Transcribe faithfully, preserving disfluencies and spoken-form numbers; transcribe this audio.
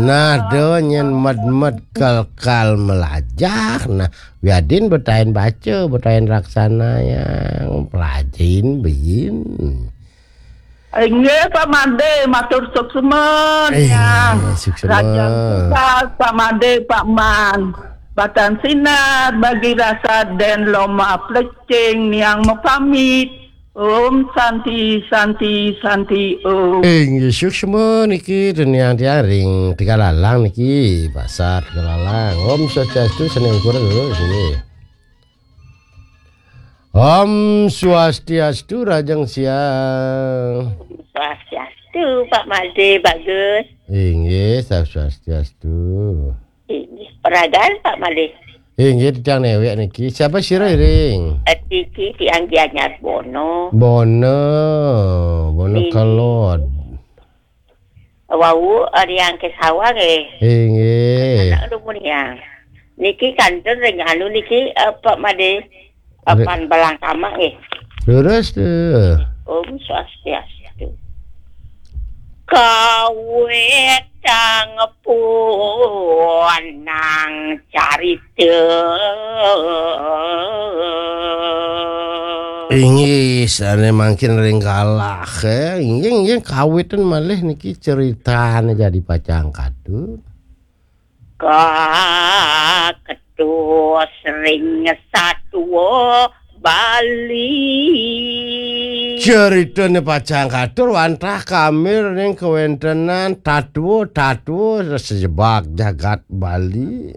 Nah, do nyen med-med kal-kal melajah. Nah, wiadin betahin baca, betahin raksana yang pelajin beyin. Inggih, Pak Made, matur suksma. Eh, yang suksma. Raja Tugas, Pak Made, Pak Man. Batan sinar bagi rasa den loma plecing niang mapamit. Om Santi, Santi, Santi, Om. Inggih, suksma niki teniang tiang ring Tegalalang niki, pasar Tegalalang. Om Swastiastu, seneng kurang dulu sini. Om Swastiastu, Rajeng Siang. Swastiastu, Pak Made, Bagus. Inggih, Swastiastu. Inggih, peragan, Pak Made. Inggih, tiang newek niki. Siapa sira iring? Niki tiang Gianyar Bono. Bono, Bono Inggih. Kelod. Wau, eh, riang ke sawah nggih. Inggih. Anak lu mun riang. Niki kanten ring anu niki, eh, Pak Made. Re- Apan balang kamak nggih. Leres tuh. Om Swastiastu. Kawetang punang carita. Inggih, sane mangkin ring galah, eh. Inggih, inggih, kawitan malih niki ceritane jadi pacang katur. Kaketus ring satua Bali. Ceritane pacang katur wantah kamir ning kawentenan tatua-tatua sejebak jagat Bali.